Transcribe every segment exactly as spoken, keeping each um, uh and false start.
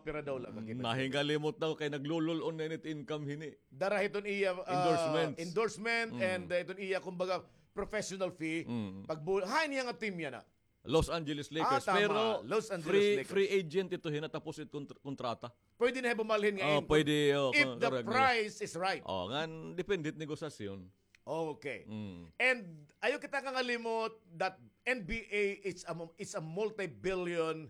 Pira daw la ka kita? Nahingalimot daw kay naglulul-on na ini it income hini. Dara hiton iya, ah, endorsement, endorsement and, ah, iton iya, kumbaga, professional fee. Pagbu-, hain hiya nga team yana? Los Angeles Lakers. Ah, tama. Pero Los Angeles free, Lakers. Free agent ito hina tapos it kontr-, kontrata. Pwede na hiya bumalhin nga income if the price is right. Oh, ngan depende it negosasyon. Okay. And ayaw kita kangalimot that N B A is a, is a multi-billion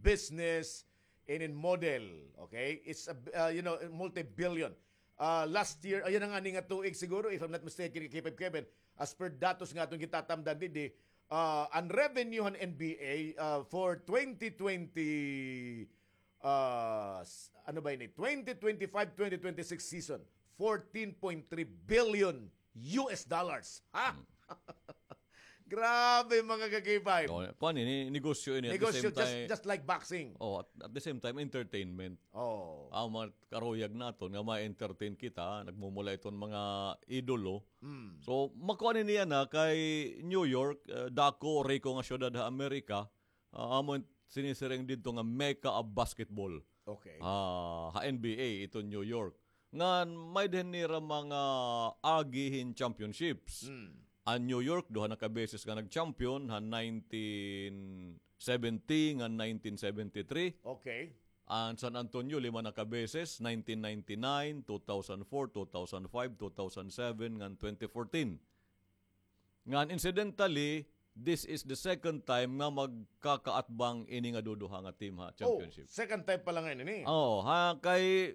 business in, in model. Okay? It's a, uh, you know, multi-billion. Uh, last year, ayan na ngani nga tuig siguro, if I'm not mistaken, K five Kevin, as per datos nga aton gitatamdan didi, uh, an revenue han N B A, uh, for twenty twenty, uh, s-, ano ba ini? Twenty twenty-five, twenty twenty-six season, fourteen point three billion U S dollars. Ha? Grabe, mga ka-K five. Oh, kuan ini, negosyo ini. Negosyo, just, just like boxing. Oh, at, at the same time, entertainment. Oh. An mga karuyag naton nga ma-entertain kita, nagmumulay iton mga idolo. So, makuan ini yana kay New York, eh, dako, riko nga syudad ha Amerika, ah, amo it sinisiring didto nga mecca of basketball. Okay. Ah, ha N B A iton New York. Ngan may-ada hini hira mga agi hin championships. An New York, duha na ka beses nga nag-champion, han nineteen seventy ngan nineteen seventy-three. Okay. An San Antonio, lima na ka beses, nineteen ninety-nine, two thousand four, two thousand five, two thousand seven, ngan twenty fourteen. Ngan incidentally, this is the second time nga magkakaatbang ini nga duduha nga team ha championship. Oh, second time pa la ngay-an ini. Oo, ha, kay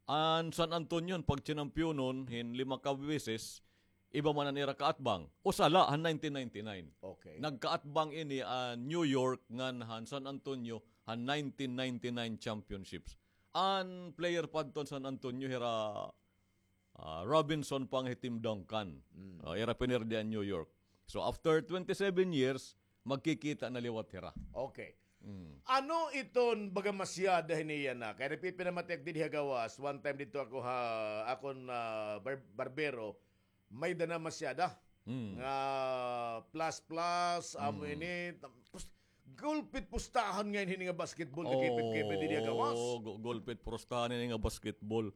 an San Antonio, pagchinampiyonon hin lima ka beses, iba man an ira kaatbang. Usa la, han nineteen ninety-nine. Okay. Nagkaatbang ini an New York ngan han San Antonio han nineteen ninety-nine championships. An player pa adto han San Antonio, hira Ah, Robinson pa nga hi Tim Duncan. Ah, ira pinirdi an New York. So, after twenty-seven years, magkikita na liwat hira. Okay. Ano iton baga masyada hini yana? Kay nagpipinamatiak didi ha gawas, one time didto ako ha, akon, ah, bar-, barbero, may-ada na masyada. Nga plus plus, amo ini, tapos, gulpit pustahan ngay-an hini nga basketball, nakipipkipit didi ha gawas. Oo, gu-, gulpit pustahan hini nga basketball.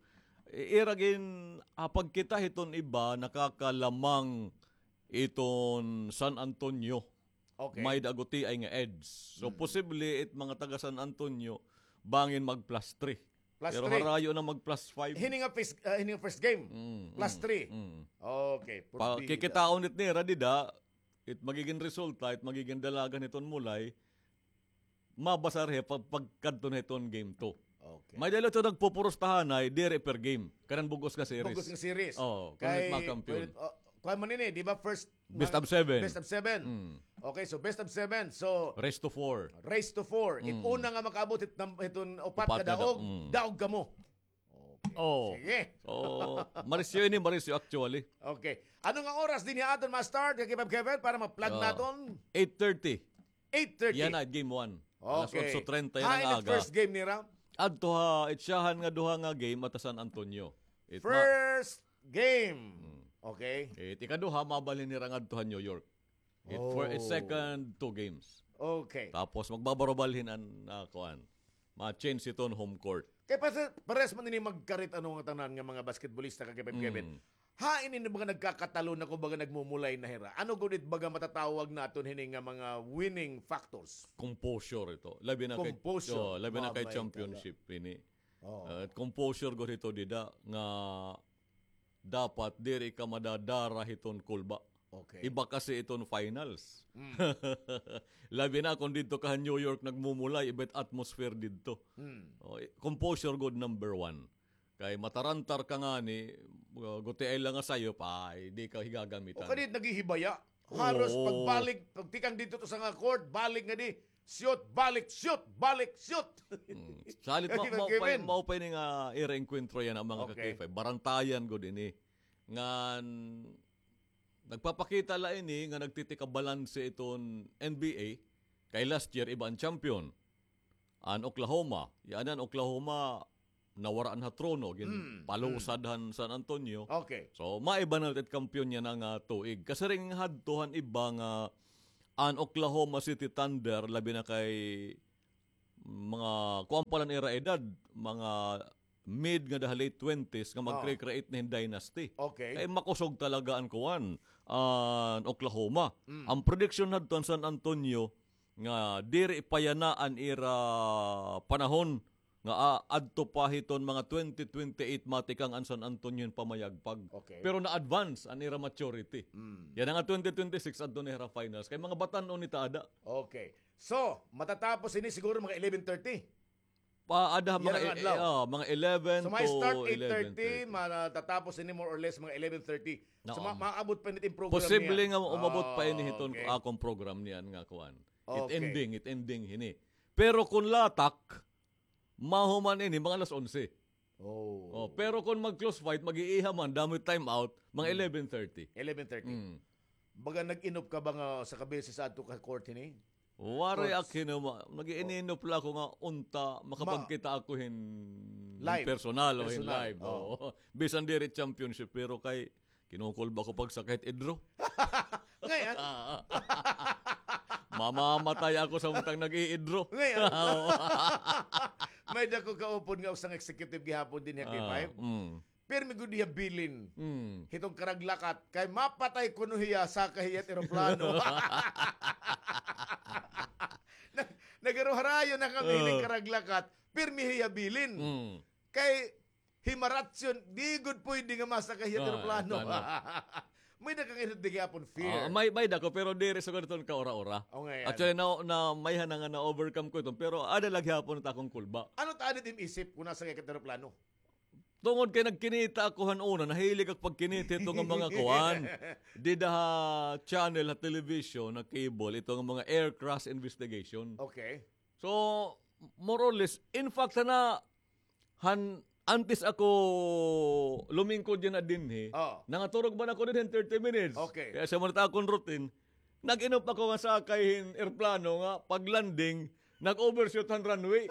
I-, ira gin-, ah, pagkita hiton iba, nakakalamang iton San Antonio. Okay. May-ada gutiay nga edge. So, posible it mga taga San Antonio, bangin mag plus three. Plus three. Pero harayo na mag plus five. Hini nga first, ah, hini nga first game. Plus three. Okay, kikitaon it nira dida, it magigin resulta, it magigin dalagan hiton mulay, mabasar hiya pag-, pagkadto na hiton game two. Okay. May-ada la ito nagpupurustahanay, diri per game. Kanan bug-os nga series. Bug-os nga series. Oo, kay, kay, oh, kuan man ini, di ba, first best of seven. Best of seven. Okay, so best of seven. So, race to four. Race to four. It una nga makaabot hit nam-, hiton upat kadaog, daog kamo. Okay. Oh. Sige. So, marisyo ini, marisyo actually. Okay. Ano nga oras dinhi aton ma-start, K five Kevin, para ma-plug naton? Eight thirty. Eight thirty. Yana, game one. Alas otso treinta yana nga aga. Hain it first game nira? Adto ha, it siyahan nga duha nga game, adto ha San Antonio. First game. Okay. It ikaduha, mabalhin nira ngadto ha New York. It fir-, it second two games. Okay. Tapos magbabarobalhin an, ah, kuan. Ma-change iton home court. Kay pa-, parehas man ini magkarit ano nga tanan nga mga basketballista, K five Kevin. Hain ini baga nagkakatalon na, kumbaga nagmumulay na hira? Ano gud it baga matatawag naton hini nga mga winning factors? Composure ito. Labi na kay, composure. Oh, labi na kay championship ini. Ah, composure gud ito dida nga dapat diri ka madadara hiton kulba. Okay. Iba kasi iton finals. Labi na kon didto ka ha New York nagmumulay, iba it atmosphere didto. Oh, composure gud number one. Kay matarantar ka ngani, uh, gutiay la nga sayop, ay, di ka higagamitan. O kadi naghihibaya. Halos pagbalik, pagtikang didto to sa nga court, balik ngadi, shoot, balik, shoot, balik, shoot. Salit, ma-, maupay, maupay ni nga ira engkwentro yana mga ka-K five. Barantayan gud ini. Ngan, nagpapakita la ini nga nagtitikabalanse iton N B A. Kay last year, iba an champion. An Oklahoma. Yana an Oklahoma, nawara na ha trono, ginpalusad han San Antonio. Okay. So, maiba na it kampiyon yana nga tuig. Kasiring hadto han iba nga an Oklahoma City Thunder, labi na kay, mga kuan pa la an ira edad, mga mid nga daha late twenties nga magcre-create na hin dynasty. Okay. Kay makusog talaga an kuan, an Oklahoma. An prediction hadto an San Antonio nga diri pa yana an ira panahon nga, ah, adto pa hiton mga twenty twenty-eight matikang an San Antonio hin pamayagpag. Okay. Pero na-advance an ira maturity. Yana nga twenty twenty-six adto na hira finals. Kay mga batan-on ni ta ada. Okay. So, matatapos ini siguro mga eleven thirty. Pa, ada mga, mga eleven to eleven thirty. So, may start eight thirty, matatapos ini more or less mga eleven thirty. So, ma-, maabot pa ini it program niya. Posible nga umabot pa ini hiton akon program niyan nga kuan. It ending, it ending hini. Pero kon latak, mahuman ini mga alas onse. Oh. Oh, pero kon mag-close fight, mag-iiha man, damo it time out, mga eleven thirty. Eleven thirty. Baga nag-inop ka ba nga sa kabisi sa adto ka court hini? Waray ak hinuma. Nag-iininop la ako nga unta makapagkita ako hin, hin personal o hin live. Oo. Bisan diri championship, pero kay kinukulba ko pagsakit idro. Ngay-an. Mamamatay ako sa untang nag-iidro. Ngay-an. May-ada ko kaupod nga usang executive gihapon dinhi ha K five. Pirmi gud hiya bilin. Hiton karaglakat. Kay mapatay kuno hiya, sakay hiya it eroplano. Nag-, nagharoharayo na kami hining karaglakat. Pirmi hiya bilin. Kay himaratyon, di gud pwede nga masakay hiya it eroplano. May-ada ka ngay-an gihapon fear. May, may-ada ko, pero diri sa ganito ka ura-ura. Actually, na, na, may-ada na nga na-overcome ko ito, pero ada la gihapon it akon kulba. Ano ta ada it im isip kon nasakay ka it eroplano? Tungod kay nagkinita ako han una, nahilig ako pagkinita hito nga mga kuan. Dida ha channel, ha television, ha cable, ito nga mga air crash investigation. Okay. So, more or less, in fact, sana, han, antes ako lumingkod yana dinhi, nangaturog man ako dinhi hin thirty minutes. Okay. Kay asa man it akon routine, nag-inop ako nga sakay hin eroplano nga pag-landing, nag-overshoot han runway.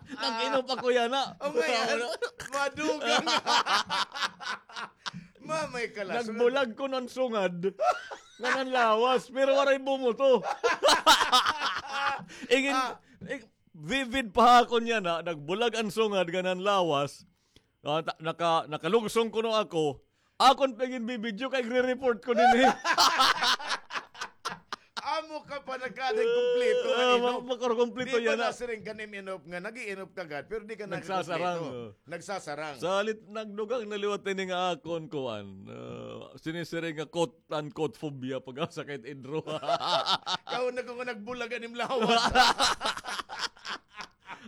Nag-inop ako yana. O, ngay-an. Madugang. Mamay ka la. Nagbulag kuno an sungad nga nanlawas, pero waray bumuto. Ingin, ing-, vivid pa ha akon yana, nagbulag an sungad nga nanlawas. Ah, ta-, naka-, nakalugsong kuno ako. Akon pa ginbibidyo kay igre-report ko dinhi. Amo ka pa nagkaday kumpleto nga inop. Makaroon kumpleto yana. Di pa nasiring ka nim inop nga nag-iinop ka gad, pero di ka nagkukumpleto. Nagsasarang, oh. Nagsasarang. Salit nagdugang na liwat ini nga akon kuan. Ah, sinisiring nga quote-unquote phobia pag-asa kay idro. Kauna ko nga nagbulag an im lawas.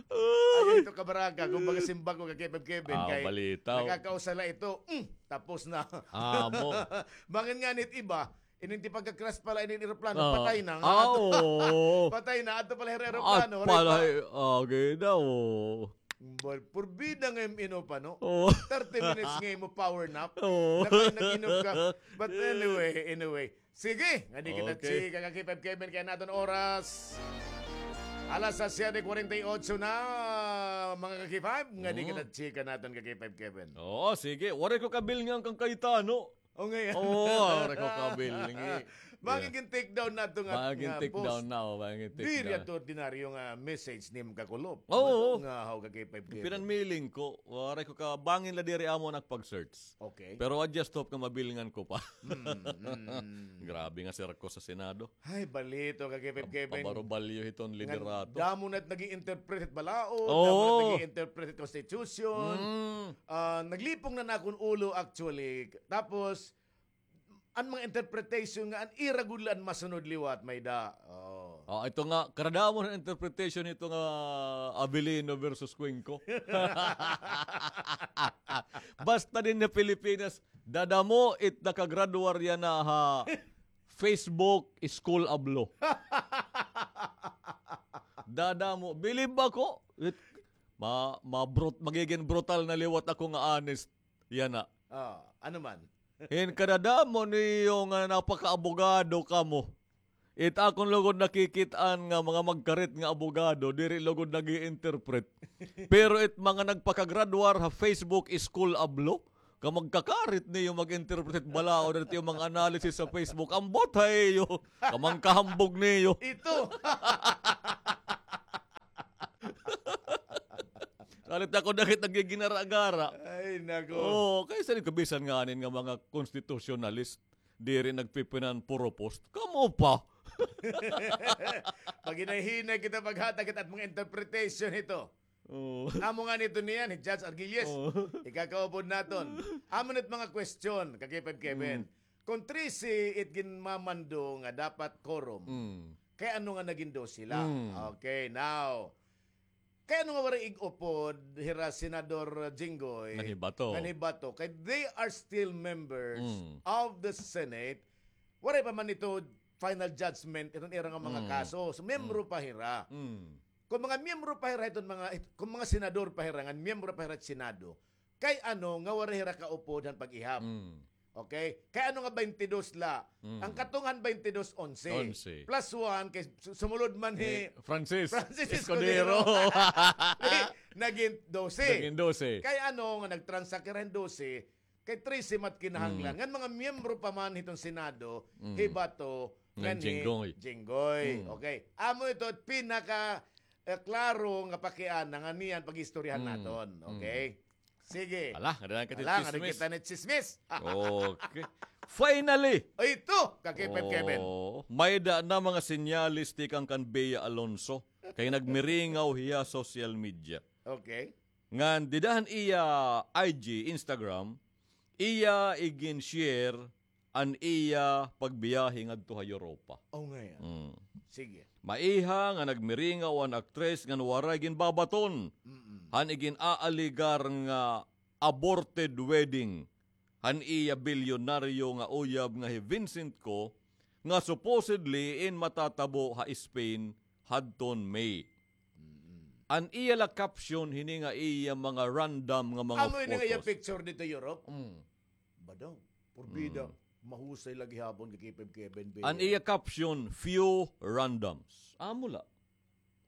Ay, ito kabaraka, kumbaga simbako ka Kevin Kevin, kay balita, nakakausa la ito. Mm, tapos na. Amo. Bangin ngani it iba, ining ti pagka-crash pa la ini eroplano, patay na nga. Ah, oo. Patay na, adto pa la hira eroplano. Ay, pala, okay daw. Bal, purbida nga im inop, ano? Oo. Thirty minutes nga imo power nap. Oo. Nag-, nag-inop ka. But anyway, anyway. Sige, ngadi kita chika, ka K five Kevin, kay an aton oras alas siyete kuwarenta y otso na, mga ka K five, ngadi kita chika naton, ka K five Kevin. Oo, sige. Waray ko kabilngan kan Cayetano. O, ngay-an. Oo, waray ko kabilngan. Bangin gin-take down nato nga, bangin take down na, o, bangin take down. Diri ato ordinaryo nga message nim kakulop. Oo. Nga haw ka K five Kevin. Pinanmiling ko, waray ko kabangin la diri amo nagpag-search. Okay. Pero I just hope nga mabilngan ko pa. Mm, mm. Grabe nga sirkus sa Senado. Ay, balito ka, Kevin, Kevin. Pabarubalyo hiton liderato. Damo na it nag-i-interpret hit balaod, damo na it nag-i-interpret hit constitution. Ah, naglipong na an akon ulo, actually. Tapos, an mga interpretation nga an ira gud la an masunod liwat, may-ada. Oh. Oh, ito nga, kadadamo na interpretation ito nga Avellino versus Cuenco. Basta dinhi ha Pilipinas, dadamo it nakagraduar yana ha Facebook School of Law. Dadamo, bilib ako. It, ma-, ma-brut-, magigin brutal na liwat ako nga honest. Yana. Ah, ano man? Hin kadadamo niyo nga napakaabogado kamo. It akon lugod nakikit-an nga mga magkarit nga abogado, diri lugod nag-i-interpret. Pero it mga nagpakagraduar ha Facebook School of Law, Kamagkakarit niyo mag-interpret balaod dito yung mga analysis sa Facebook. Ambot ha iyo. Kamangkahambog niyo. Ito. Salit ako dakit nagiginara-gara. Ay, nako. Oo, kay salit kabisan nga anin nga mga constitutionalist, diri nagpipinan puro post. Kamo pa. Paghinay-hinay kita paghatag kita at mga interpretation ito. Oo. Amo nga nito niyan, hi Judge Argilius. Oo. Ikakaupod naton. Amo nit mga question, ka K five Kevin. Mm. Kung trese it ginmamando nga dapat quorum, mm, kay ano nga naging dose la? Mm. Okay, now, kay ano nga waray ig-upod hira Senador Jinggoy? Ngan hi Bato. Ngan hi Bato. Kay they are still members, mm, of the Senate. Waray pa man ito final judgment iton ira nga mga, mm, kaso. So, miyembro, mm, pa hira. Mm. Kung mga miyembro pa hira iton mga, it-, kung mga senador pa hira, ngan miyembro pa hira it Senado, kay ano nga waray hira kaupod han pag-ihap? Mm. Okay? Kay ano nga twenty-dos la? Mm. An katong han twenty-dos, onse. Onse. Plus one, kay su-, sumulod man hi, eh, Francis, Francis Escudero. Escudero. Di, naging dose. Naging dose. Kay ano nga nagtransak hira hin dose, kay trese mat kinahanglan. Mm. Ngan mga miyembro pa man hiton Senado, mm, hi Bato, ngan hi Jinggoy. Jinggoy. Mm. Okay. Amo ito, pinaka, eh, klaro nga pakiana nga niyan pag-istoryahan, mm, naton. Mm. Okay? Sige. Ala, nga dala ka chismis. Ala, nga kita ni chismis. Okay. Finally! Ay, ito! Ka K five Kevin. Oh, may-ada na mga senyales tikang kan Bea Alonzo. Kay nagmiringaw hiya social media. Okay. Ngan dida han iya I G, Instagram, iya igin-share an iya pagbiyahe ngadto ha Europa. Oh, nga yan. Mm. Sige. Maiha nga nagmiringaw an aktres ngan waray ginbabaton, mm-mm, han igin-aaligar nga aborted wedding han iya bilyonaryo nga uyab nga hi Vincent Co, nga supposedly in matatabo ha Spain hadton May. Mm-mm. An iya la caption hini nga iya mga random nga mga photos. Amo ini nga iya picture dito Europe? Mm. Ba daw? Porbida, mm, mahusay la gihapon kay Kevin Bea. An iya caption, "Few randoms." Amo la.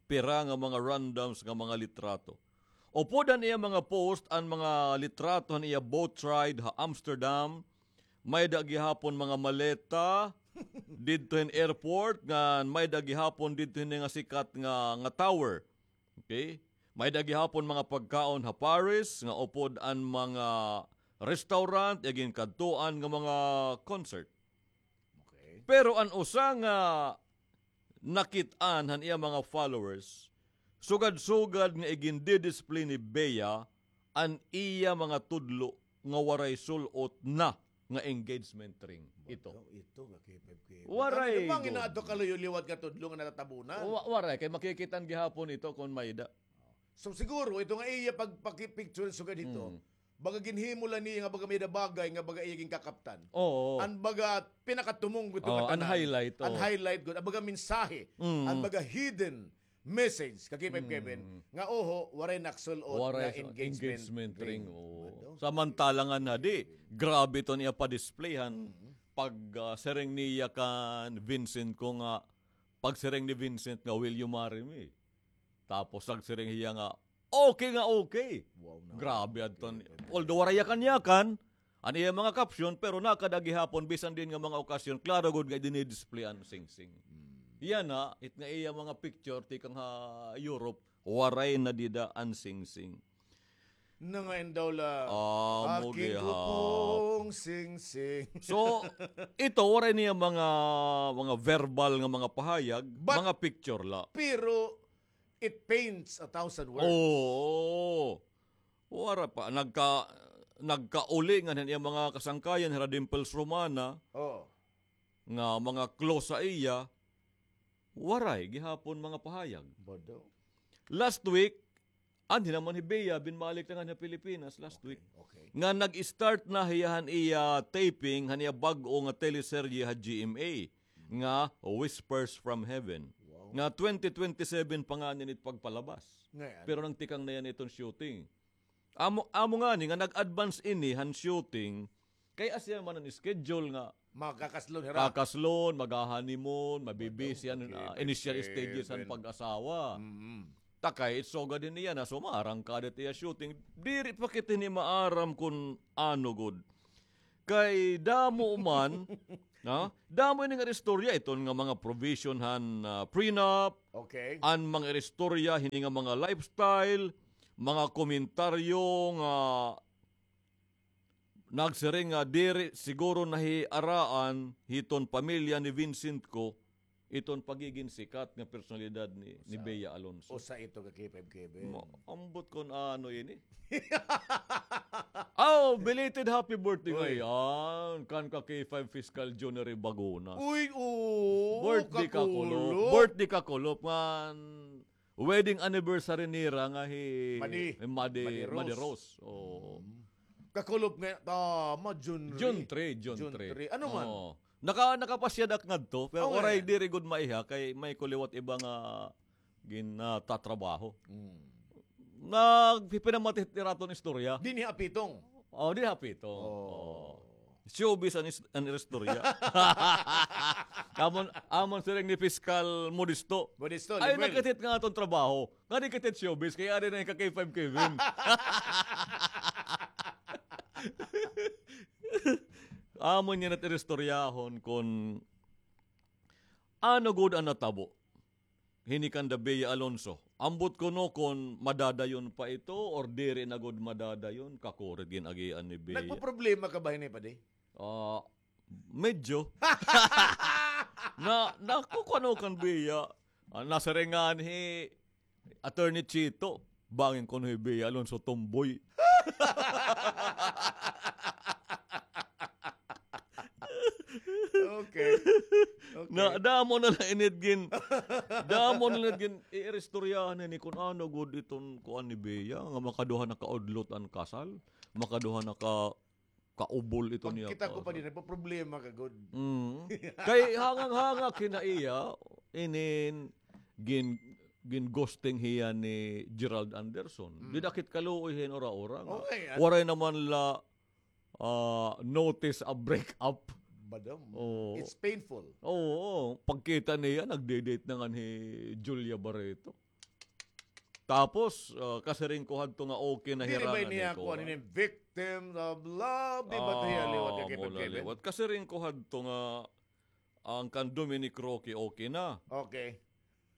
Pira nga mga randoms nga mga litrato. Upod han iya mga post, an mga litrato han iya boat ride ha Amsterdam, may-ada gihapon mga maleta didto hin airport, ngan may-ada gihapon didto hin nga sikat nga, nga tower. Okay? May-ada gihapon mga pagkaon ha Paris, nga upod an mga restaurant, iya ginkadtuan nga mga concert. Okay. Pero an usa nga nakit-an han iya mga followers, sugad-sugad nga igindidisplay ni Bea an iya mga tudlo nga waray sul-ot na nga engagement ring ito. Ito, ito, ka K five Kevin. Waray. Ano, mangin na ato kaluyo liwat nga tudlo nga natatabunan? Wa-, waray, kay makikit-an gihapon ito kon may-ada. So, siguro, ito nga iya pagpaki-picture sugad hito, mm, baga ginhimo la niya nga baga may-ada bagay nga baga iya ginkakaptan. Oo. An baga pinakatumong ito, oo, nga tanan. An highlight, oo. An highlight gud, an baga mensahe, mm, an baga hidden message, ka K five Kevin, mm, nga oho, waray naksul-ot nga engagement ring. Waray engagement ring, oo. Ano? Samantala nga na di, grabe iton iya pa-display han, mm, pag, ah, siring niya kan Vincent Co nga, pagsiring ni Vincent nga, "Will you marry me?" Tapos nagsiring hiya nga, "Okay nga okay." Wow, na. Grabe adton. Although waray yakan-yakan an iya mga caption, pero nakada gihapon, bisan diin nga mga okasyon, klaro gud nga dinidisplay an singsing. Hmm. Yana, it nga iya mga picture tikang ha Europe, waray na dida an singsing. Nangain daw la, amo gihapon. Aking gupong singsing. So, ito, waray niya mga, mga verbal nga mga pahayag, mga picture la. Pero, it paints a thousand words. Oo. Wara pa, nagka-, nagkauli ngan han iya mga kasangkayan, hira Dimples Romana, oo, nga mga close sa iya, waray gihapon mga pahayag. Bodo. Last week, anhi naman hi Bea, binmalik na ngan ha Pilipinas last week. Okay, okay. Nga nag-start na hiya han iya taping, han iya bag-o nga teleserye ha G M A, nga Whispers from Heaven. Wow. Nga twenty twenty-seven pa ngani it pagpalabas. Ngayon. Pero nagtikang na yana iton shooting. Amo, amo ngani nga nag-advance ini han shooting, kay asya man an schedule nga makakaslon hira. Kakaslon, magha-honeymoon, mabibisi an, ah, initial stages han pag-asawa. Mm-mm. Takay, it's so good in iya na sumarang ka dit iya shooting. Diri pa kita ni maaram kun ano gud. Kay damo man, na? Damo ini nga istorya iton nga mga provision han, ah, prenup, Okay. an mga istorya hini nga mga lifestyle, mga komentaryo nga nagsiring nga diri siguro nahiaraan hiton pamilya ni Vincent ko iton pagigin sikat nga personalidad ni, ni Sa Bea Alonso. Usa ito ka K five Kevin. Ma-, ambot kon ano ini. Oh, belated happy birthday Uy. ngayon kan ka K five Fiscal Junior Bagunas. Uy, oo, Birthday ka, Kulop. kakulop. Birthday ka, Kulop. Ngan wedding anniversary nira nga hi Madi. hi Madi, Madi Rose. Madi Rose. Oo. Mm. Kakulop nga, tama, June June three. three, June June three. three. Ano man? Oo. Naka-, nakapasyada ak ngadto, pero Oh, waray eh. diri gud maiha kay may ko liwat iba nga ginatatrabaho. Mm. Nagpipinamati iraton istorya. Dinhi ha Pitong. Oh, dinhi ha Pitong. Oh. Oh. Showbiz an is-, an istorya. Amon, amon siring ni Piskal Modesto. Modesto, Ay, Lemuel. nagkit-it nga aton trabaho. Nga di kit-it showbiz, kay ari na yung ka K five Kevin. Amon niya nat iristoryahon kon ano gud an natabo. Hini kanda Bea Alonso. Ambot kuno kon madadayon pa ito or diri na gud madadayon, kakurit gin-agian ni Bea. Nagpoproblema ka ba hini, padi? Ah, medyo. Na, nakukuha kan Bea. Ah, nasiringan hi Attorney Chito. Bangin kuno hi Bea Alonso tomboy. Okay. Okay. Na, damo na la init gin. Damo na la gin, iiristoryahan ini kun ano gud iton kuan ni Bea, nga makaduha na kaudlot an kasal, makaduha na ka, kaubol ito niya Pagkita ko pa kasal. din, nagpaproblema ka gud. Mm. Kay hangang-hanga kina iya, inin gin, gin ghosting hiya ni Gerald Anderson. Mm. Didakit kaluoy hin ura-ura nga. Okay, ah. Waray naman la ah, notice a break-up. Madam, Oo. it's painful. Oo, oo. Pagkita niya, nagde-date na nga ni Julia Barreto. Tapos, ah, kasiring ko hadto nga okay na Diri hira ba na niya ni kuha Cora. ni victims of love? Di ba tayo liwat ka Ah, kay mula Kevin? liwat. Kasiring ko hadto nga ang kan Dominic Roque okay na. Okay.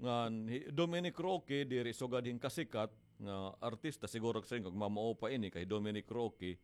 Ngan hi Dominic Roque, diri sugad hin kasikat nga artista, siguro kasi kag mamao pa ini kay Dominic Roque,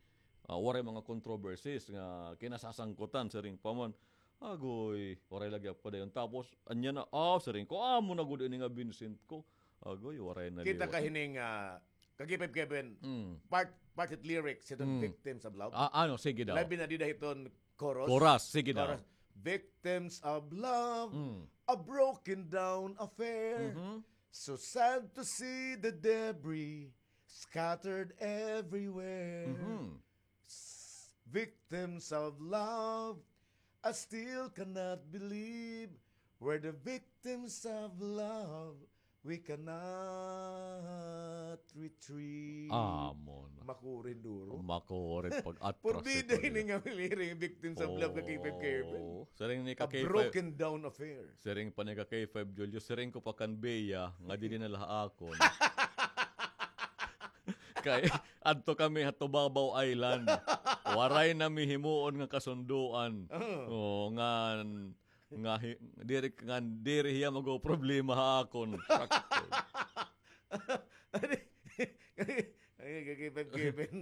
ah, waray mga controversies nga kinasasangkutan, siring pa man. Agoy, waray lagi padayon. Tapos, anya na, ah, siring ko, amo na gud ini nga Vincent ko. Agoy, waray na Kita liwat. ka hining, ah, Kagipay Kevin, Mm. part, part hit lyrics hiton Mm. Victims of Love. Ah, ano, sige daw. Labi na dida hiton chorus. Chorus, sige daw. Chorus. Victims of love, Mm. a broken down affair. Mhm. So sad to see the debris scattered everywhere. Mhm. S-, victims of love, I still cannot believe we're the victims of love. We cannot retrieve. Amo na. Makurin duro. Makurin pag atras Purbida ito ini niya. nga liring, Victims of Love ka K five Kevin. Oo. Siring ni ka A K five. broken down affair. Siring pa ni ka K five Julio, siring ko pa kan Bea, nga dili na la ha akon. Kay, adto kami ha Tubabao Island. Waray na mi himuon nga kasunduan. Oo. Oo, ngan, nga hi-, diri, ngan diri hiya magoproblema ha akon. Ay, kay Kevin, Kevin.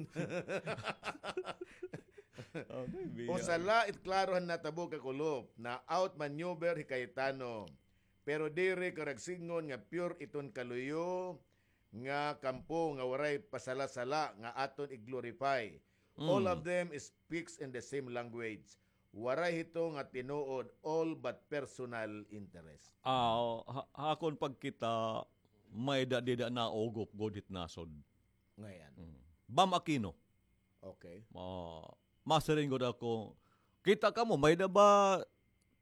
Okay, Bea. O sala, it klaro han natabo ka Kulop, na outmaneuver hi Cayetano. Pero diri karagsingon nga pure iton kaluyo nga kampo nga waray pasala-sala nga aton i-glorify. All Mm. of them speaks in the same language. Waray hito nga tinuod, all but personal interest. Ah, ha, ha akon pagkita, may-ada dida naugop gud hit nasod. Ngayon. Mm. Bam Aquino. Okay. Ma-, masiring gud ako, kita kamo, may-ada ba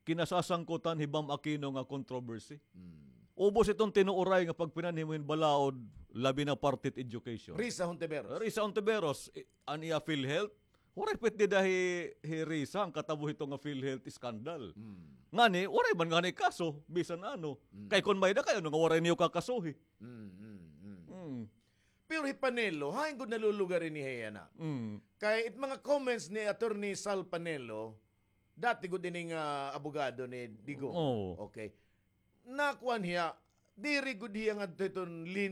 kinasasangkutan hi Bam Aquino nga controversy? Mm. Ubos iton tinuoray nga pagpinanhimo hin balaod, labi na parte it education. Risa Hontiveros. Risa Hontiveros, i-, an iya PhilHealth, waray pa it dida hi, hi Risa, an katabo hito nga PhilHealth scandal. Mm. Ngani, waray man ngani kaso, bisan ano. Mm. Kay kon may-ada kay ano nga waray niyo kakasuhi. Mm, mm, mm. Mm. Pero hi Panelo, hain gud nalulugar ini hiya na. Mm. Kay it mga comments ni Attorney Sal Panelo, dati gud ini nga abogado ni Digong. Oo. Okay. Nakuan hiya, diri gud hiya ngadto hiton linya